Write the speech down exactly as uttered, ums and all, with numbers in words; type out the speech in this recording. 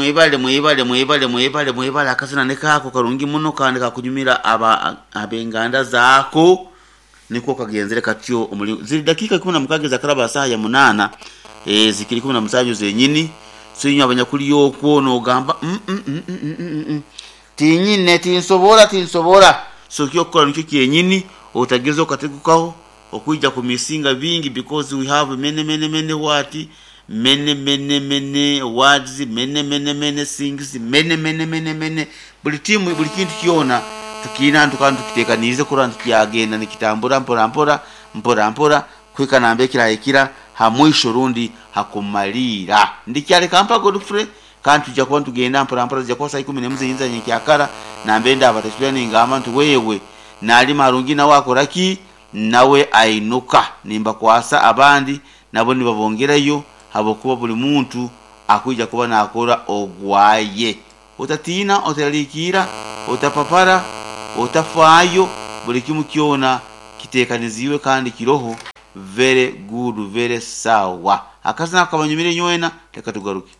Mwebale, mwebale, mwebale, mwebale, mwebale. Akazina nikaako karungi muno kandi kakunyumira aba ab'enganda zaako. Niko kagenzere katyo. Omuli ziri dakiika ikumi na mukaaga ezakaraba saaha ya munaana, eh, zikiri ikumi na musanju zenyini. So inywe abanyakuli okwo nogamba, mm, mm, mm, mm, mm, mm, mm. Tinyine, tinsobora, tinsobora. So kyokukora nikyo kyenyini, otageza okategukaho okwija kumisinga bingi, because we have many, many, many what, many, many, many words, many, many, many things, many, many, many, many, buli timu, buli kintu kyona tukiina ntukandi tukitekaniize kurora nti kyagenda nikitambura mpora mpora mpora mpora kuhika nambere kirahikira ha mwisho rundi hakumaliira. Ndikyaleka mpa Godfrey, kandi tujja kuba nitugenda mpora mpora. Zijja kuba saa ikumi n'emu zenyini za nyenkyakara nambere ndabatasubira ningamba nti wewe nalima harungi, nawe akora ki, nawe ainuka, nimbakwasa abandi nabo nibabongerayo, habwokuba buli muntu akwija kuba nakora ogwaye. Otatiina, oteralikiira, otapapara, otafaayo, buli kimu kyona kitekaniziibwe kandi kiroho very good, very sawa. Akazina kabanyumire nywena, leka tugaruke.